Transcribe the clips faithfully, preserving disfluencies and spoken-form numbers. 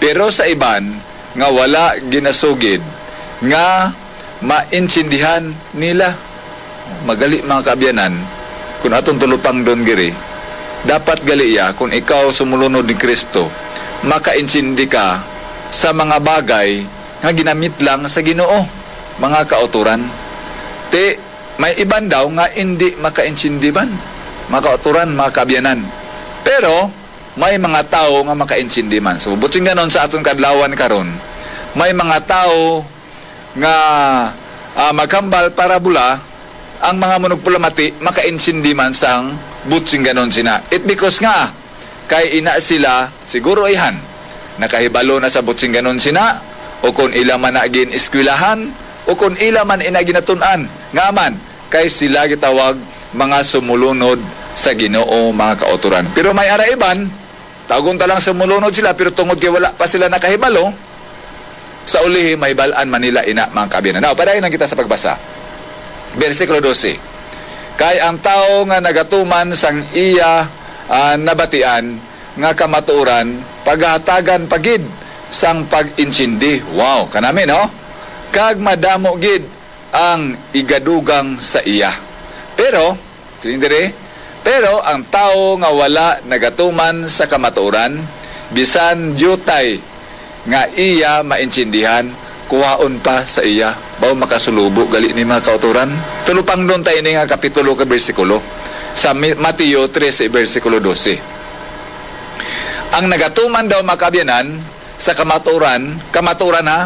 Pero sa iban nga wala ginasugid nga maintindihan nila. Magali, mga kaabyanan, kung atong tulupangdon diri, dapat gali ya, kung ikaw sumulunod ni Kristo, makaintindi ka sa mga bagay nga ginamit lang sa Ginoo, mga kautoran. Ti, may iban daw nga indi makaintindi man, mga kautoran, mga kaabyanan. Pero may mga tawo nga makaintindi man. So, butsing ganon, sa aton kadlawan karon, may mga tawo nga, ah, maghambal parabola, ang mga manugpalamati makaintindi man sang butsing ganon sina. It because nga, kay ina sila, siguro, ihan, nakahibalo na sa butsing ganon sina, o kon ila man na gin-eskwelahan, o kon ila man ina ginatun-an. Nga man, kay sila gitawag mga sumulunod sa Ginoo, mga kautoran. Pero may ara iban, tawgon ta lang sumulunod sila, pero tungod kay wala pa sila nakahibalo, sa ulihi mahibal-an man nila ina, mga kaabyanan. Now, padayon lang kita sa pagbasa. Bersikulo dose, "Kay ang tawo nga nagatuman sang iya, ah, nabatian nga kamatuoran, pagahatagan pa gid sang pag-intindi." Wow, kanami, no? "Kag madamo gid ang igadugang sa iya." Pero, siling diri, "Pero ang tawo nga wala nagatuman sa kamatuoran, bisan diutay nga iya maintindihan, kuhaon pa sa iya." Baw makasulubo gali ni, mga kautoran? Tulupangdon ta ini nga kapitulo ka bersikulo sa Mi-, Mateo trese, bersikulo dose. Ang nagatuman daw, mga kaabyanan, sa kamatuoran, kamatuoran ha,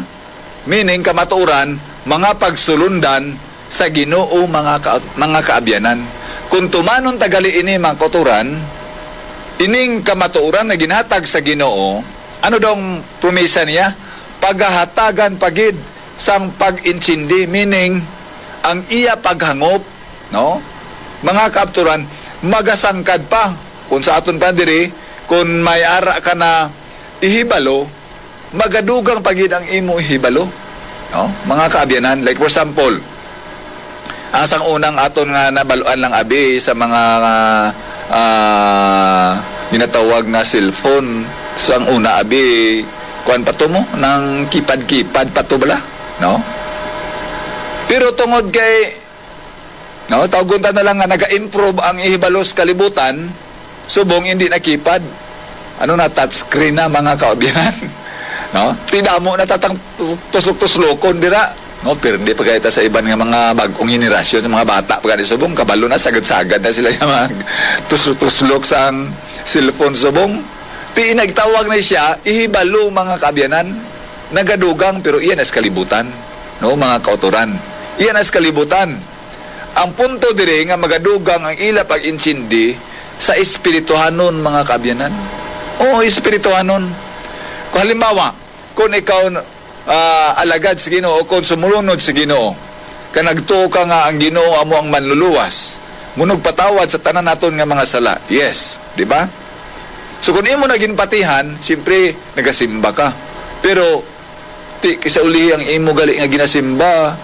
meaning kamatuoran, mga pagsulundan sa Ginoo, mga ka-, mga kaabyanan. Kung tumanon ta gali ini, mga kautoran, ining kamatuoran nga ginhatag sa Ginoo, ano daw ang promisa niya? Pagahatagan pa gid sang pag-intindi, meaning ang iya paghangop, no? Mga kaabturan, magasangkad pa. Kung sa aton pa diri, kung may ara ka na ihibalo, magadugang pa gid ang imo ihibalo, no? Mga kaabyanan, like, for example, ang sang unang aton nga nabaluan lang abi sa mga, ah, ginatawag nga cellphone, sang una abi, kuan pa to mo, nang keypad-keypad pa to bala, no? Pero tungod kay, no, tawgon ta na lang nga naga-improve ang ihibalo sa kalibutan, subong hindi na keypad. Ano na, touchscreen na, mga kaabyanan. No? Ti damo na ta tang tuslok-tuslokon dira. No, pirdi pa gani ta sa iban nga mga bag-ong henerasyon, sa mga bata pa gani subong, kabalo na, sagad-sagad na sila nga mag tuslok-tuslok sang cellphone subong. Ti nagtawag na siya, ihibalo, mga kaabyanan. Nagadugang, pero iya na sa kalibutan. No, mga kautoran. Iya na sa kalibutan. Ang punto diri nga magadugang ang ila pag-intindi sa espirituhanon, mga kaabyanan. Oo, espirituhanon. Kung halimbawa, kung ikaw, ah, alagad sa Ginoo, kung sumulunod sa Ginoo, ka nagtuo ka nga ang Ginoo amo ang manluluwas, munugpatawad sa tanan naton nga mga sala. Yes, di ba? So, kung imo na ginpatihan, siyempre, nagasimba ka. Pero, ti, kisa ulihi ang imo gali nga ginasimba,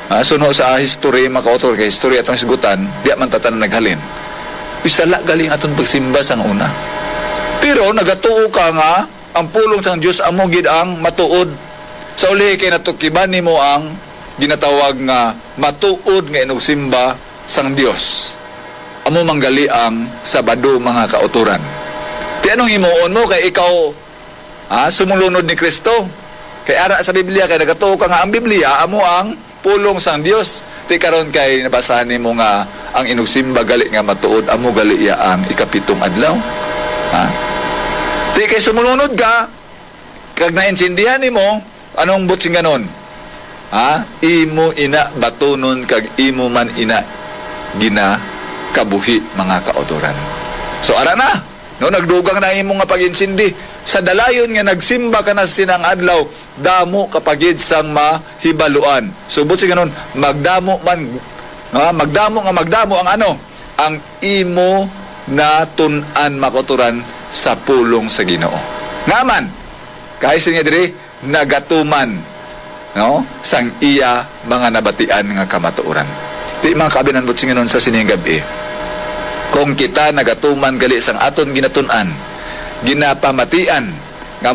ah, suno sa history, mga kautoran, kay history atong hisgutan, di man ta tanan naghalin. Uy, sala gali ang aton pagsimba sang una. Pero nagatuo ka nga ang pulong sang Dios amo gid ang matuod. Sa ulihi kay natukiban nimo ang ginatawag nga matuod nga inugsimba sang Dios. Amo man gali ang Sabado, mga kautoran. Ti anong himuon mo kay ikaw, ha, sumulunod ni Kristo? Kay ara sa Biblia, kay nagatuo ka nga ang Biblia amo ang pulong sang Dios. Ti karon kay nabasahan nimo nga ang inugsimba gali nga matuod, amo gali iya ang ikapitong adlaw. Ha? Ti kay sumulunod ka, kag naintindihan nimo, anong butsinganon? Ha? Imo ina batunon kag imo man ina ginakabuhi, mga kautoran. So, ara na, no, nagdugang na imo nga pag-intindi. Sa dalayon nga nagsimba ka na sa sinang adlaw, damo ka pa gid sang mahibaluan. So, butsinganon, magdamo man, ha? Magdamo nga magdamo ang ano? Ang imo natun-an, mga kautoran, sa pulong sa Ginoo. Nga man, kay siling niya diri, nagatuman, no, sang iya mga nabatian nga kamatuoran. Ti, mga kaabyanan, butsinganon, sa sining gab-i, kung kita nagatuman gali sang aton ginatun-an, ginapamatian,